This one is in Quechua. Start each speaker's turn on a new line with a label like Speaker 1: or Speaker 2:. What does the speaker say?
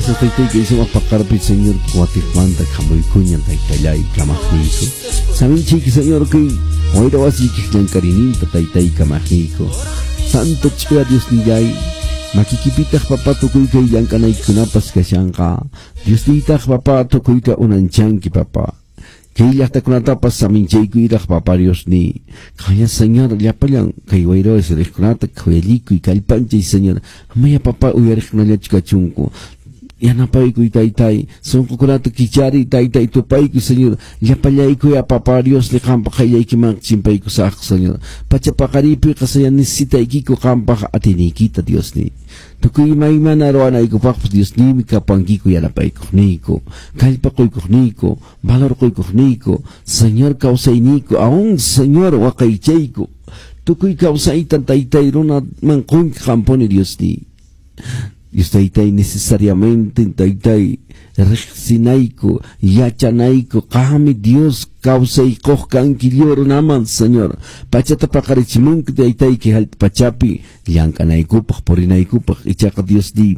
Speaker 1: Gracias, taytay, kay sumaq paqarpi, Señor, watiqmanta hamuykuña, taytallay, kamaqniyku. Saminchayki, Señor, kay wayra wasiykiq llank'arininta, taytay, kamaqniyku. Santo ch'uya Diosnillay, makikipitaq, papá, tukuy kay llank'anaykikunapas kashanqa. Diosniytaq, papá, tukuyta unanchanki, papá. Kay llaqtakunatapas saminchaykuyraq, papá Diosniy. Qanya, Señor, llapallan kay wayra wasi riqkunata khuyallikuy, kallpanchay, Señor. Amaya, papá, uyariqkunallachu kachunku. Yanapaykuy, taytay, sunqukunata kichariy, taytay, tupaykuy, Señor. Llapallaykuya, papá Diosni, qampaq qayllaykiman chimpaykusaqku, Señor. Pacha paqariypiqa, Señor, necesitaykiku qampaq atiyniykita, Diosni. Tukuy imaymana ruwanaykupaqpas Diosniymi kapankiku yanapaykuqniyku, kallpa quykuqniyku, valor quykuqniyku, Señor, kawsayniyku, aún, Señor, waqaychayku. Tukuy kawsayta, taytay, runaman qunki qampuni, Diosniy. Dios taytay, necesariamente, taytay, riqsinayku, yachanayku, qammi Dios kawsay quq kanki lliw runaman, Señor. Pachata paqarichimunki, taytayki, hallp'a pachapi llank'anaykupaq, purinaykupaq, ichaqa Diosniy.